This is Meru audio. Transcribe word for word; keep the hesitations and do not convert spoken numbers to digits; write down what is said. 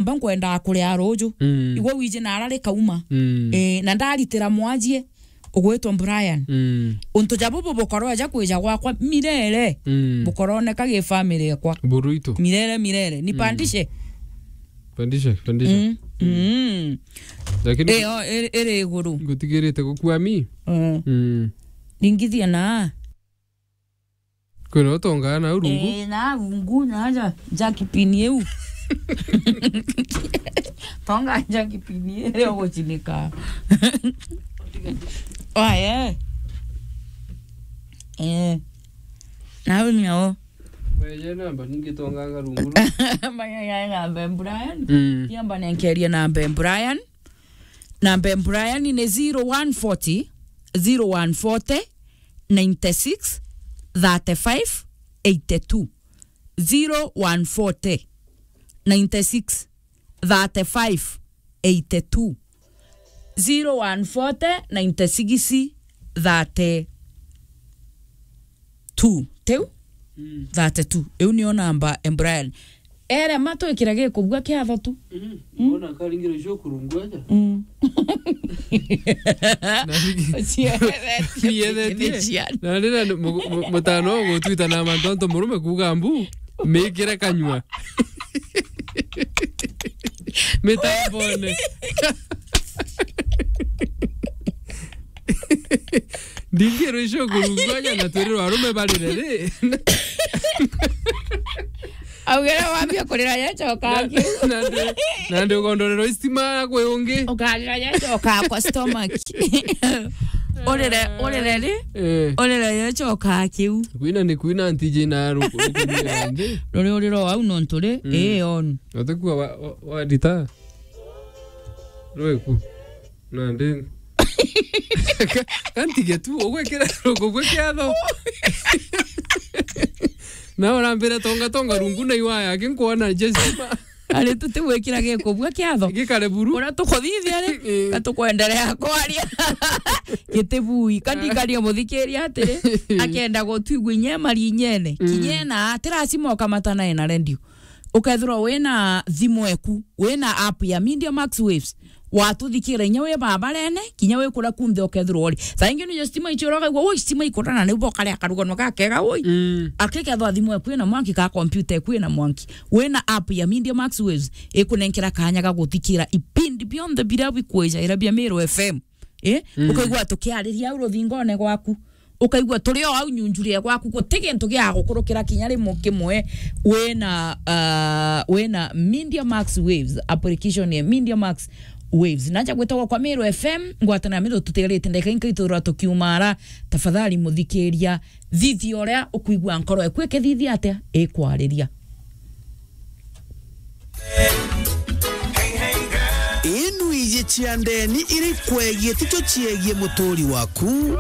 mba nkwenda kuria ruju. Mm. Igwe wiji na arari kauma. Mm. Eh, na ndaritira mwajie ugwitwa Brian. Mm. Untu ja bubu bukoro aja kwija gwakwa mirere. Mm. Bukoroneka gi family yakwa. Buruito. Mirere, mirere. Ni Mm. pandishe. Pandishe, pandishe. Mm. Mm. Lakini Eh, o, iri, iri iguru. Ngutigirite gukua mi. Mm. Mm. Ringithia na. Kwina utongaa na urungu? Eh, na rungu, na ja, jakipini iu. Tonga jakipini iu guchinika. Oye. Eh. Na uni o. Weje namba ningi tonganga rungu. Manya ya namba Brian. Mm. Kiamba nenkeria namba Brian. Namba ya Brian ni zero one forty, zero one forty, ninety six, thirty five, eighty two. Zero one forty, ninety six, thirty five, eighty two. Zero one forty, ninety six, thirty two. Teu? Mm. Thirty two. Iu niyo namba ya Brian. Ere ma twikire gikubua kiatho tu. Mm. Mm. Mbona karingire cio kurungwa aja? Mm. Na rigi- Ciethe-, Ciethe-, ciethe-, ciethe-, na rira mu-, mu-, mutano gutwita na mantu antu murume kuuga mbu, mikire kanyua. Mitambone. Ndingirwe icio kurungwa aja na twirwe arume barire ri. Augire wambia kurira yechoka. Na, na ndi, na ndi ugondorerwa istima kwi ungi. Ukarira yechoka kwa stomach. Urire, urire ri? Eh. Urire yechoka kiu. Kwina ni kwina ntiji na ruku, ruku ni ndi. Ruri uriro wau no nturi, Mm. eh, on. Utekua wa, wa, wa dita. Rweku. Nandi. Ka-, kantige tu, ugwikira ruku gwi kiatho. Na urambire tonga tonga rungu na iwaya, aki nkwona Jesima. Ari tutigwikira gikubua kiatho. Gikare buru. Uria tukuthithia ri, Eh. Gatukwenderea kwaria. Gitibui, kandikaria muthikiria atiri, akenda gutwigua inya mari inyene. Mm. Kinya na, ti lazima ukamatana na redio. Ukethirwa wina thimu eku, wina app ya Media Max Waves, watuthikira inya wi babarene, kinya wi kuria kunthe ukethirwa uri. Thaa ingi niyo stima ichiura, ukaigua, "Ui, stima ikura," na niu bokare akaruganwa gakega, ui. Mm. Akikethwa thimu eku ina mwanki, ka kompyuta eku ina mwanki, wina app ya Media Max Waves, ikunenkera kanya ga guthikira ipindi bionthe biria bikwija ira bia Meru F M. Eh? Mm. Ukaigua tukiariria au ruthingone gwaku. Ukaigua turi o au nyunjurie gwaku, guti gintu gia gukurukira kinya rimwe kimwe wina, ah, wina Media Max Waves, application ya Media Max Waves. Naja gwitagwa kwa Meru F M, ngwatana na Meru tutigarite ndagika inkaithurwa tukiumara. Tafadhali muthikiria, thithia uria ukuigua nkoro eku ikithithia atia ikwariria. Inu iji cia ndeni iri kwegie ticho ciegie muturi waku.